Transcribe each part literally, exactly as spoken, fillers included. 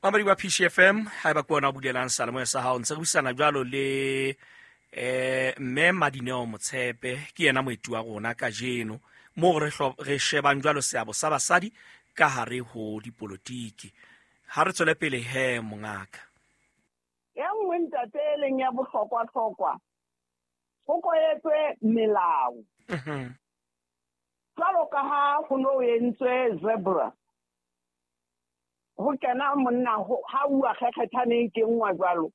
Mamadi wa P C F M, haeba ke wena o bulelang seyalemoya sa hao, ntse re buisana jwalo le eh mme Madineo Motshepe, ke yena moeti wa rona kajeno, moo re hlo-, re shebang jwalo seabo sa basadi ka hare ho dipolotiki. Ha re tswele pele he mongaka. E nngwe ntate e leng ya bohlokwa-hlokwa, ho koetswe melao. Mhm. Jwalo ka ha ho no entswe zebra, ho kena monna ho, ha uwa kgekgethaneng ke nngwa jwalo.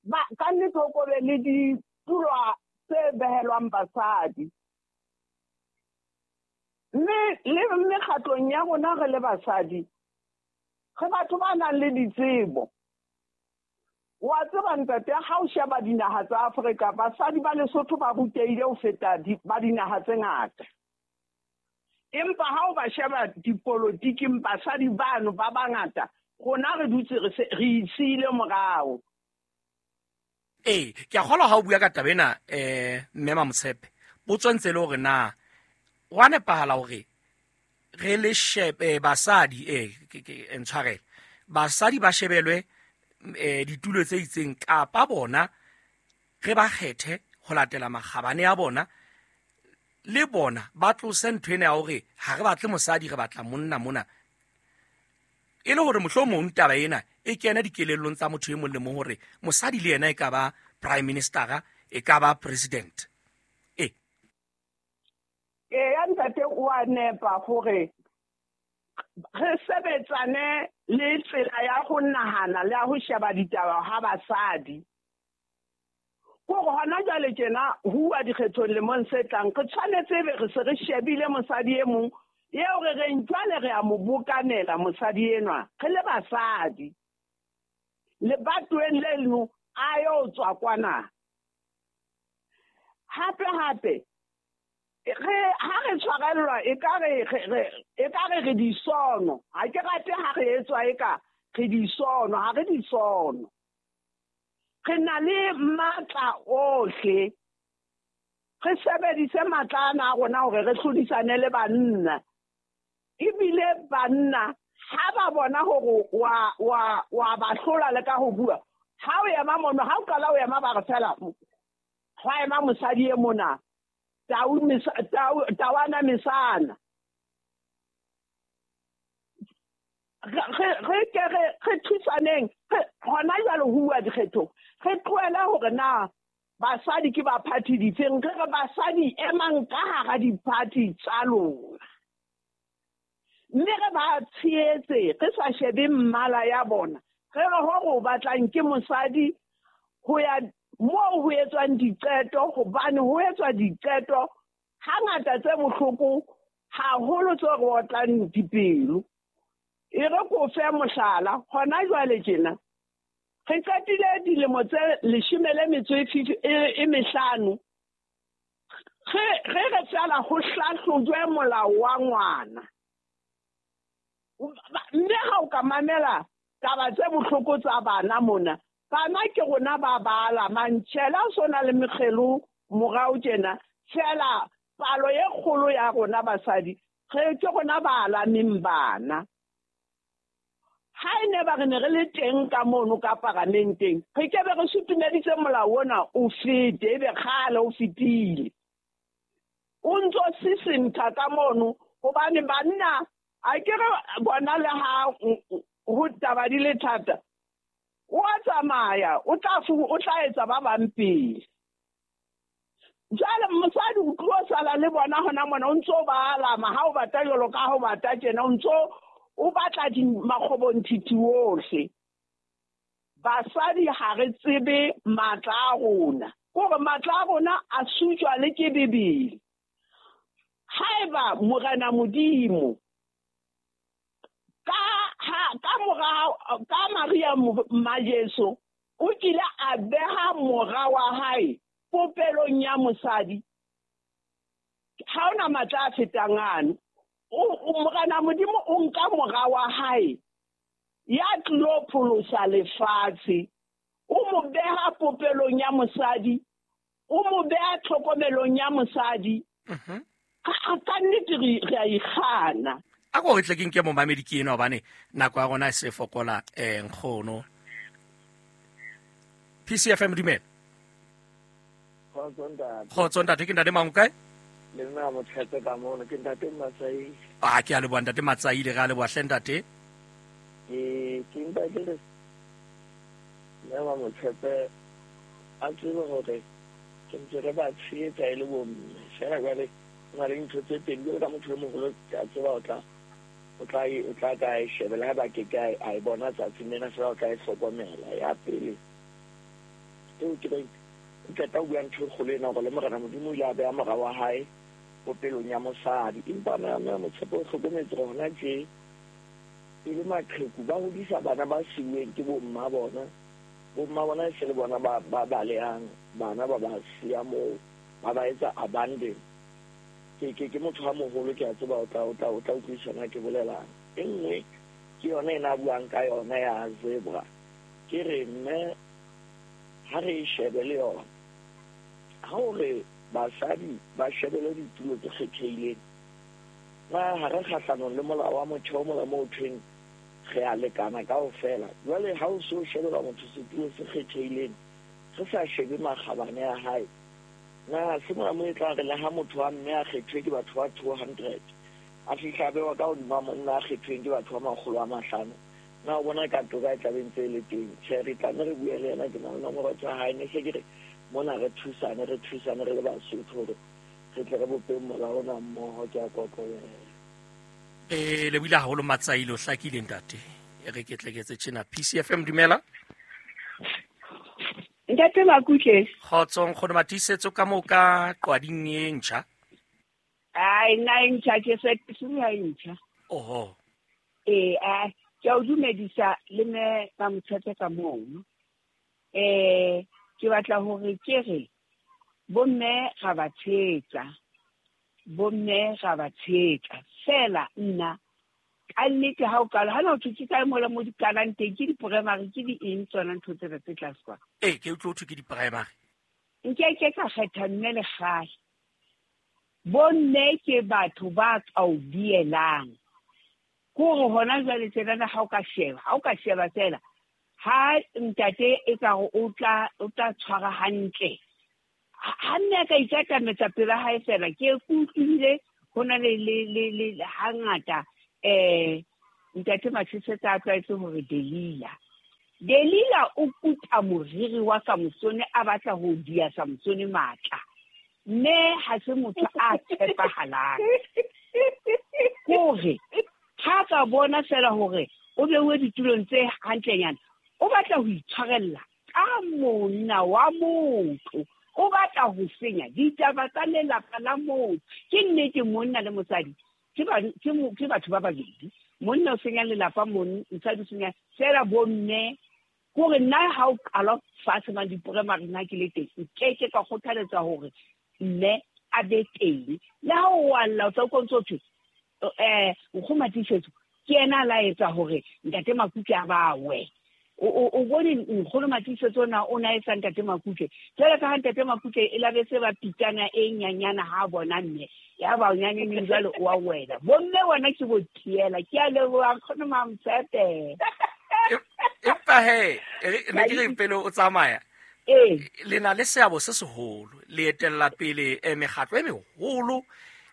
Ba, ka nnete ho ko be le ditulo tse behelwang basadi. Mme le mekgatlong ya rona re le basadi, re batho ba nang le ditsebo. Wa tseba ntate, ha o sheba dinaha tsa Afrika, basadi ba Lesotho ba rutehile ho feta di-, ba dinaha tse ngata. Empa ha o ba sheba dipolotiking, basadi bano ba bangata, rona re dutse re se, re itshile morao. Ee, ke a kgolwa ha o bua ka taba ena, eh, mme Mamotshepe, potso ntse e le hore na wa nepahala hore re le shebe, eh, basadi, eh, ke, ke, eh, ntshwarele, basadi ba shebelwe, eh, ditulo tse itseng, kapa bona re ba kgethe ho latela makgabane a bona, le bona ba tlose ntho ena ya hore ha re batle mosadi, re batla monna mona, e le hore mohlomong taba ena e kene dikelellong tsa motho e mong le mong hore mosadi le yena e ka ba prime minister, e ka ba president. E. Ee, ya ntate o a nepa hore re sebetsane le tsela ya ho nahana le ya ho sheba ditaba ha basadi. Kore hona jwale tjena ho uwa dikgethong lemong se tlang, re tshwanetse ebe re se re shebile mosadi e mong eo re reng jwale re a mo bokanela mosadi enwa, re le basadi. Lebatoweng leno a yo tswa kwana. Hape hape, re, ha re tshwarellwa, ekare re, re, ekare re disono. Ha ke rate ha re etswa eka re disono, ha re disono. Re na le matla ohle. Re sebedise matla ana a rona hore re hlodisane le banna. Ebile banna ha ba bona hore wa, wa, wa ba hlola le ka ho bua, ha o ema mono, ha o qala o ema ba re fela, hwa ema mosadi e mona, tau mesa-, tau, tawana mesana. Re, re, re ke re, re thusaneng, re, hona jwale ho uwa dikgethong, re tlohele hore na basadi ke ba party difeng, re re basadi emang ka hara di-party tsa lona. Mme re ba tshehetse, re sa shebe mmala ya bona, re re hore o batlang ke mosadi ho ya moo ho etswang diqeto, hobane ho etswa diqeto hangata tse bohloko haholo tse re otlang dipelo. E re ko fe mohlala, hona jwale tjena re qetile dilemo tse leshome le metso e fifi-, e, e mehlano re, re re fela ho hlahlojwe molao wa ngwana. Mme ha o ka mamela taba tse bohloko tsa bana mona, bana ke rona ba bala mantjhela o sona le mekgelo morao tjena, fela palo e kgolo ya rona basadi re ke rona ba alameng bana. Ha e ne ba re ne re le teng ka mono ka paramenteng, re ke be re sutumeditse molao ona o fete, ebe kgale o fetile. O ntso sisintha ka mono hobane banna a ke re bona le ha ho taba di le thata, o a tsamaya, o tla fu-, o tla etsa ba bang pele. Jwale mosadi o tlo sala le bona hona mona, o ntso ba alama ha o batla jwalo ka ha o batla tjena, o ntso o batla di makgobonthithi ohle. Basadi ha re tsebe matla a rona, kore matla a rona a sutjwa le ke Bibele. Haeba Morena Modimo ka ha, ka mora, ka Maria mma Jesu o kile a beha mora wa hae popelong ya mosadi, ha ona matla a fetang ano. O, o, Morena Modimo o nka mora wa hae ya tlilo pholosa lefatshe, o mo beha popelong ya mosadi, o mo beha tlhokomelong ya mosadi. Mhm. Ka, ka nnete re, re a ikgana. A ko re tle ke nke momamedi ke ena hobane nako ya rona e se fokola eh nkgono. P C F M dumela. Kgotso ntate. Kgotso ntate, ke ntate mang kae? Le nna Motshepe ka mono, ke ntate Matsai. Ah, ke a leboha ntate Matsai, le re a leboha hle ntate. Ke ke mpa ke re mme wa Motshepe a tsebe hore ke ntse re ba tshehetsa e le bomme. Feela jwale ho na le dintho tse pedi, jwalo ka motho e moholo ke a tseba o tla o tla o tla ka e shebela ha ba ke ke a e bona tsatsing lena, feela o tla e hlokomela. Ya pele eo ke reng o qeta ho bua ntho e kgolo ena hore le Morena Modimo o ile a beha mora wa hae popelong ya mosadi. Empa mme Motshepe o hlokometse hore hona tje e le maqheku ba hodisa bana ba siuweng ke bomma bona. Bomma bona e se le bona ba ba balehang bana ba ba siya moo, ba ba etsa abandon. Ke ke ke motho a moholo, ke a tseba o tla o tla o tla utlwisisa ke bolelang. E nngwe ke yona ena a buang ka yona ya zebra. Ke re mme ha re e shebe le yona, ha o re basadi ba shebele ditulo tse kgethehileng, na ha re kgahlanong le molao wa motheo mola moo thweng re a lekana kaofela. Jwale ha o so shebela motho setulo se kgethehileng, re sa shebe makgabane a hae, na se mona mo e tla re le ha motho wa mme a kgethwe ke batho ba two hundred, a fihla a bewa ka hodima monna a kgethweng ke batho ba makgolo a mahlano, na o bona ka toka e tla be ntse e le teng? Tjhe, re tlamme re bue le yena, ke na le nomoro tsa hae. Ne se ke re mona re thusane, re thusane re le Basotho hore re tle re bopeng molao ona mmoho. Ke a kokobela. Eh le buile haholo Matsaile, o hlakile ntate. E re ke tle ke etse tjena. P C F M dumela. Ntate Makutle. Kgotso nkgono Matiisetso ka moo ka qwading e ntjha. Ai nna e ntjha, ke se ke se e ntjha. Oho. Eh a ke a o dumedisa le mme ba Motshepe ka mono. Eh ke batla hore ke re bomme ga ba tshetsa, bomme ga ba tshetsa fela. Nna ka nnete ha o kala ha na o thutse kae mola mo dikalang teng, ke di-primary ke di eng tsona ntho tsena tse tlase kwa? Ee, ke utlwe ho thwe ke di-primary. Nke ke ka kgetha mme le kgale. Bomme ke batho ba ka o dielang. Ke hore hona jwale tsenana ha o ka sheba, ha o ka sheba fela, ha ntate e ka re o tla o tla tshwara hantle. Ha mme a ka ikatametsa pela hae fela, ke utlwile ho na le le le le hangata eh ntate Matiisetso a tlwaetse hore Delila. Delila o kuta moriri wa Samsone a batla ho dia Samsone matla. Mme ha se motho a tshepahalang. Hore ha ka bona fela hore o beuwe ditulong tse hantlenyana, o batla ho itshwarella ka monna wa motho, o batla ho senya ditaba tsa lelapa la motho. Ke nnete monna le mosadi ke ba ke batho ba babedi. Monna o senya lelapa, mosadi o senya fela bomme. Hore nna ha o qala fatshe mang di-primary nna ke le teng, nke ke ka kgothaletsa hore mme a be teng. Le ha o wa lla o tla utlwa o ntso thwe eh nkgono Matiisetso ke yena a la etsa hore ntate Makutle a bawe. O o bone nkgono Matiisetso na o na etsa ntate Makutle. Jwale ka ha ntate Makutle e la be se ba pitana e nyanyana ha bona mme ya ba o nyaneng jwale o a wela. Bomme bona ke bo tiela. Ke a leboha nkgono Mamtshepe. Empa he, ne ke re pele o tsamaya. Ee. Le na le seabo se seholo, le etella pele mekgatlo e meholo,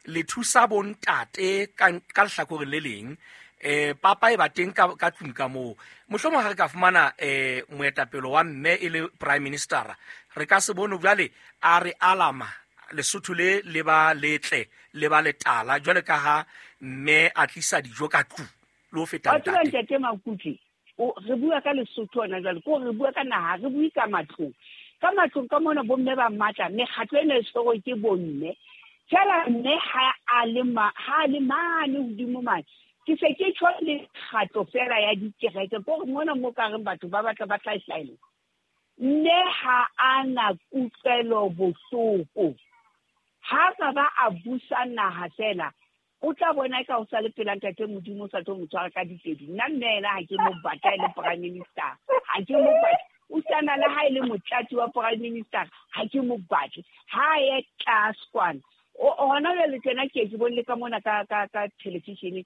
le thusa bontate ka ka lehlakoreng le leng. Eh papa e ba teng ka ka tlung ka moo. Mohlomong ha re ka fumana eh moetapele wa mme e le prime minister, re ka se bone jwale a re alama Lesotho le le ba letle le ba letala jwale ka ha mme a tlisa dijo ka tlung le ho feta ntate. Ntate Makutle, o re bua ka Lesotho hona jwale, ko re bua ka naha, re bue ka matlong. Ka matlong ka mona bomme ba matla, mekgatlo ena e tshwerwe ke bomme. Fela mme ha a le ma ha le mane hodimo mane, ke se ke tjho le mekgatlo fela ya dikereke, ko re mona mo ka reng batho ba batla ba tla hlaela. Mme ha a na kutlwelo bohloko. Ha ka ba a busa naha fela, o tla bona ka o sa le pela ntate Modimo o sa tlo mo tshwara ka ditedu. Nna mme ena ha ke mo batla e le prime minister, ha ke mo batle. O sana le ha e le motlatsi wa prime minister, ha ke mo batle. Ha ye tlase kwana. O hona jwale tjena ke ke bone le ka mona ka ka ka television.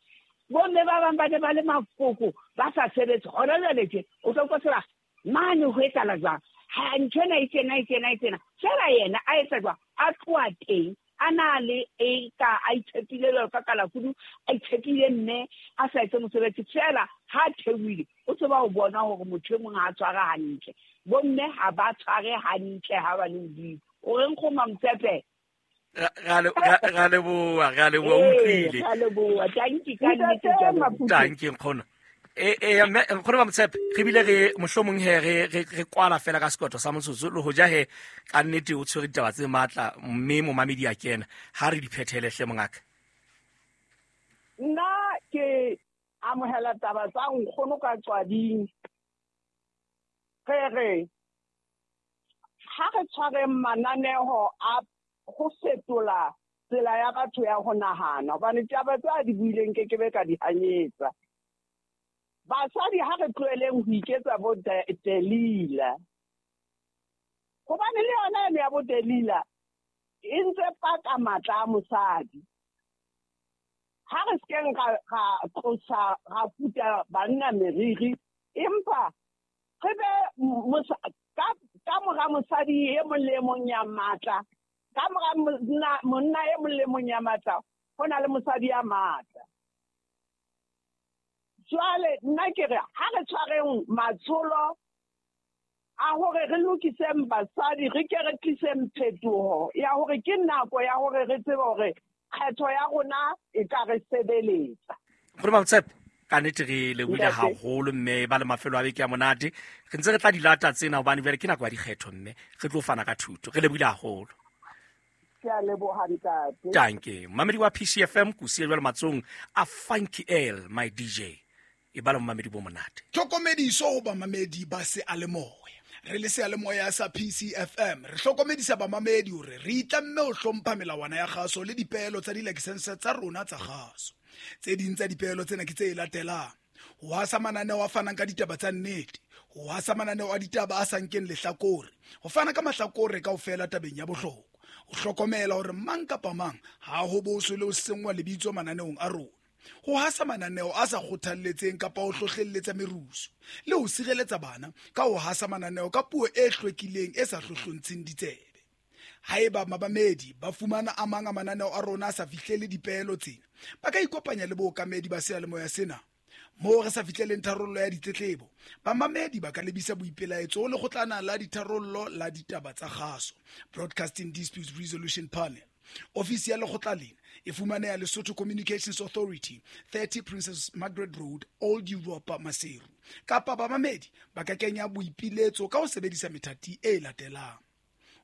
Bomme ba bang ba ne ba le mafoko ba sa sebetse. Hona jwale tje o tlo utlwa mane ho etsahala jwang, ha nthwena e tjena e tjena e tjena. Fela yena a etsa jwang, a tloha teng a na le e ka a itshepile jwalo ka kalakudu, a itshepile mme a sa etse mosebetsi. Fela ha theohile o tseba ho bona hore motho e mong ha a tshware hantle. Bomme ha ba tshware hantle ha ba le hodimo. O reng go Mamtshepe? Ra leboha, ra leboha, o utlwile. Ra leboha, tanki ka nnete ke a leboha. Tanki nkgono. E e mme nkgono Mamtshepe, re bile re mohlomong he re re kwala fela ka sekotho sa motsotso le hoja he ka nnete o tshwere ditaba tse matla mme momamedi a kena. Ha re di phethele hle mongaka. Nna ke amohela taba tsa nkgono ka qwading. Re re ha re tshwareng mananeo a go fetola tsela ya batho ya ho nahana, hobane taba tse a di buileng ke ke be ka di hanyetsa. Basadi ha re tlohelleng ho iketsa bo Delila, hobane le yona eno ya bo Delila e ntse paka matla a mosadi. Ha re sekeng ra tlosa ra puta banna meriri, empa re be ka mora mosadi e mong le e mong ya matla, ka mora monna e mong le mong ya matla, ho na le mosadi ya matla. Jwale nna ke re ha re tshwareng matsholo a hore re lokiseng basadi, re ke re tliseng phetoho ya hore ke nako ya hore re tsebe hore kgetho ya rona e ka re sebeletsa. Nkgono Mamtshepe, ka nnete re lebohile haholo mme ba le mafelo a beke a monate. Re ntse re tla di lata tsena hobane jwale ke nako ya dikgetho mme re tlo fana ka thuto. Re lebohile haholo. Ke a leboha ntate. Tanke. Mamedi wa P C F M ko siya jwale matsong a Funky L, my D J. E bala momamedi bo monate. Tlhokomediso ho bamamedi ba seyalemoya. Re le seyalemoya sa P C F M re hlokomedisa bamamedi hore re itlamme ho hlompha melawana ya kgaso le dipeelo tsa dilakesense tsa rona tsa kgaso. Tse ding tsa dipeelo tsena ke tse latelang: ho hasa mananeo a fanang ka ditaba tsa nnete, ho hasa mananeo a ditaba a sa nkeng lehlakore, ho fana ka mahlakore kaofela tabeng ya bohlokwa, ho hlokomela hore mang kapa mang ha ho boswe le ho senngwa lebitso mananeong a rona, ho hasa mananeo a sa kgothalletseng kapa ho hlohlelletsa merusu, le ho sireletsa bana ka ho hasa mananeo ka puo e hlwekileng e sa hlohlontsheng ditsebe. Haeba mabamedi ba fumana a mang a mananeo a rona a sa fihlele dipeelo tsena, ba ka ikopanya le bookamedi ba seyalemoya sena. Moo re sa fihleleng tharollo ya ditletlebo, bamamedi ba ka lebisa boipelaetso ho lekgotlana la ditharollo la ditaba tsa kgaso, Broadcasting Disputes Resolution Panel. Ofisi ya lekgotla lena e fumaneha Lesotho Communications Authority, thirty Princess Margaret Road, Old Europa, Maseru. Kapa bamamedi ba ka kenya boipiletso ka ho sebedisa methati e latelang: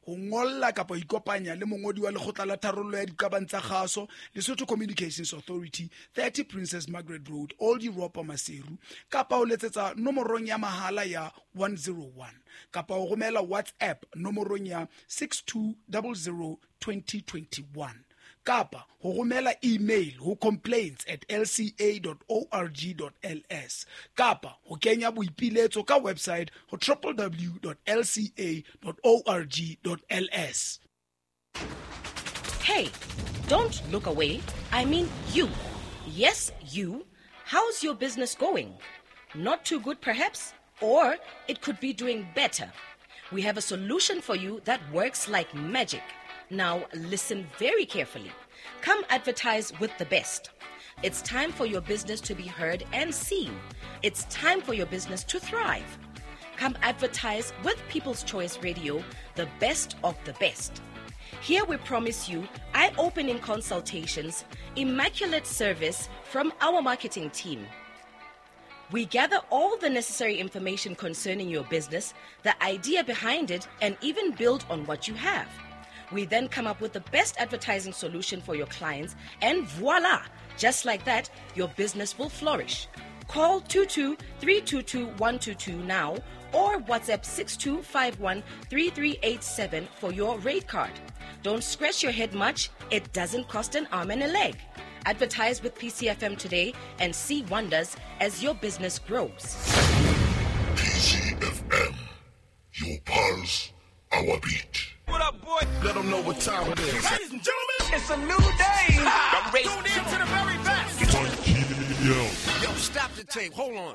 ho ngolla kapa ho ikopanya le mongodi wa lekgotla la tharollo ya diqabang tsa kgaso, Lesotho Communications Authority, thirty Princess Margaret Road, Old Europa, Maseru, kapa ho letsetsa nomorong ya mahala ya one zero one, kapa ho romela WhatsApp nomorong ya six two zero zero twenty twenty-one, kapa ho romela email ho complaints at l c a dot org dot l s, kapa ho kenya boipiletso ka website ho w w w dot l c a dot org dot l s. Hey, don't look away. I mean you. Yes, you. How's your business going? Not too good perhaps, or it could be doing better. We have a solution for you that works like magic. Now listen very carefully. Come advertise with the best. It's time for your business to be heard and seen. It's time for your business to thrive. Come advertise with People's Choice Radio, the best of the best. Here we promise you eye-opening consultations, immaculate service from our marketing team. We gather all the necessary information concerning your business, the idea behind it, and even build on what you have. We then come up with the best advertising solution for your clients, and voila! Just like that, your business will flourish. Call two two three two two one two two now or WhatsApp six two five one three three eight seven for your rate card. Don't scratch your head much. It doesn't cost an arm and a leg. Advertise with P C F M today and see wonders as your business grows. P C F M, your pulse, our beat. What up, boy? Let them know what time it is. Ladies and gentlemen, it's a new day. I'm ready to the very best. Funky. Yo. Yo, stop the tape. Hold on.